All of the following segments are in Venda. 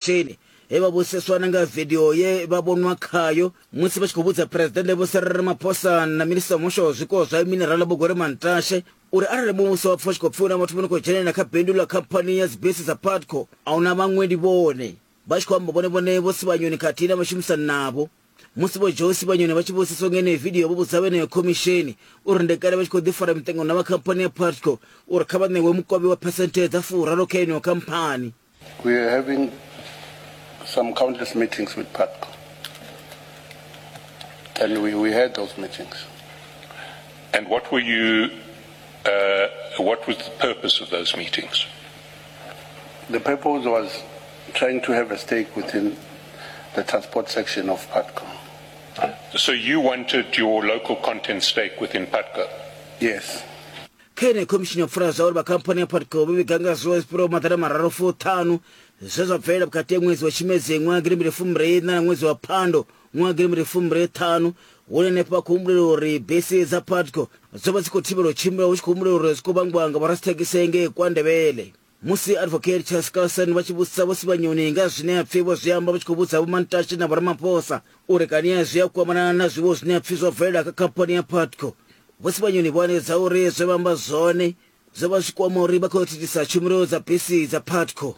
Khomishini he vha vhudziseswa na nga vidio ye vha vhonwa khayo musi vha tshi khou vhudza Phresidennde Vho Cyril Ramaphosa na Minisiṱa wa Muhasho wa Zwiko zwa Minerala Vho Gwede Mantashe uri arali muvhuso wa pfa u tshi khou pfi hu na vhathu vho no khou dzhenelela kha bindu ḽa khamphani ya dzibisi dza Putco, a hu na vhaṅwe ndi vhone. Vha tshi khou amba vhone vhone Vho Sibanyoni khathihi na vhashumisani navho. Musi Vho Joe Sibanyoni vha tshi vhudziswa nga yeneyo vidio vho vhudza vha yeneyo khomishini uri ndi kale vha tshi khou ḓi fara miṱangano na vha khamphani ya Putco uri kha vha ṋewe mukovhe wa phesenthe dza furaru kha yeneyo khamphani. We are having some countless meetings with Putco. And we, we had those meetings. And what were you, what was the purpose of those meetings? The purpose was trying to have a stake within the transport section of Putco. So you wanted your local content stake within Putco? Yes. Kha yeneyi khomishini yo pfula zwa uri vha khamphani ya Putco vho vhiga nga zwiwo zwi fhiraho maḓana mararu fuṱhanu zwe zwa bvelela vhukati ha ṅwedzi wa Tshimedzi ṅwaha gidimbili fumbili iṋa na ṅwedzi wa Phando ṅwaha gidimbili fumbili ṱhanu, hune henefho vha khou humbulela uri bisi dza Putco dzo vha dzi khou thivhelwa u tshimbila hu tshi khou humbulelwa uri zwi khou vhangwa nga vhoradzithekhisi ngei KwaNdebele. Musi Advocate Chaskalson vha tshi vhudzisa Vho Sibanyoni nga zwine ha pfi vho zwi amba vha tshi khou vhudza Vho Mantashe na Vho Ramaphosa uri kani zwi a kwamana na zwiwo zwine ha pfi zwo bvelela kha khamphani ya Putco, Vho Sibanyoni vho hanedza uri zwe vha amba zwone zwo vha zwi kwama uri vha khou thithisa tshumelo dza bisi dza Putco.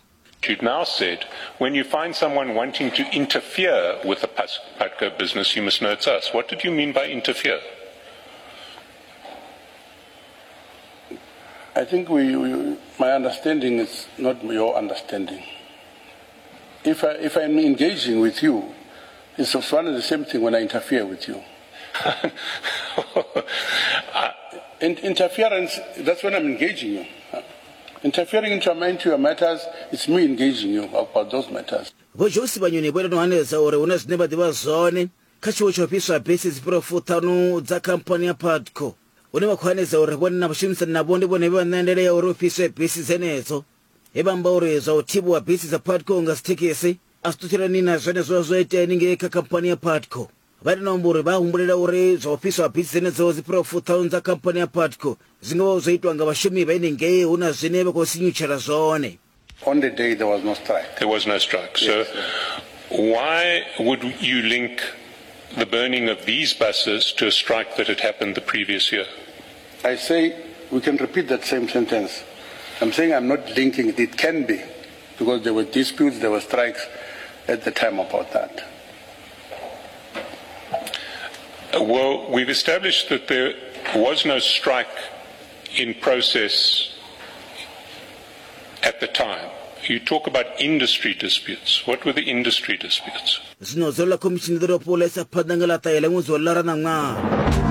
You've now said, when you find someone wanting to interfere with the Putco business, you must know it's us. What did you mean by interfere? I think we, we, my understanding is not your understanding. If, I, if I'm engaging with you, it's one and the same thing when I interfere with you. In, interference, that's when I'm engaging you. Interfering into, into your matters, it's me engaging you about those matters. Vho Joe Sibanyoni vho ita no hanedza uri hu na zwine vha ḓivha zwone kha tshiwo tsha u fhiswa bisi dzi fhiraho fuṱhanu dza khamphani ya Putco. Hune vha khou hanedza uri vhone na vhashumisani navho ndi vhone vhe vha ṋea ndaela ya uri hu fhiswe bisi dzenedzo. He vha amba uri zwa u thivhiwa bisi dza Putco nga dzithekhisi a zwi ṱutshelani na zwenezwo zwo itea haningei kha khamphani ya Putco. Vha ita na u amba uri vha humbulela uri zwa u fhiswa ha bisi dzenedzo dzi fhiraho fuṱhanu dza khamphani ya Putco zwi nga vha zwo itwa nga vhashumi vha henengei hu na zwine vha khou sinyutshela zwone. On the day there was no strike. There was no strike. So yes, why would you link the burning of these buses to a strike that had happened the previous year? I say we can repeat that same sentence. I'm saying I'm not linking it. It can be because there were disputes, there were strikes at the time about that. Well, we've established that there was no strike in process at the time. You talk about industry disputes. What were the industry disputes? Zwino dzulo ḽa khomishini ḓo dovha hafhu ḽa isa phanḓa nga ḽa ṱahe ḽa ṅwedzi wa Lara ṋaṅwaha.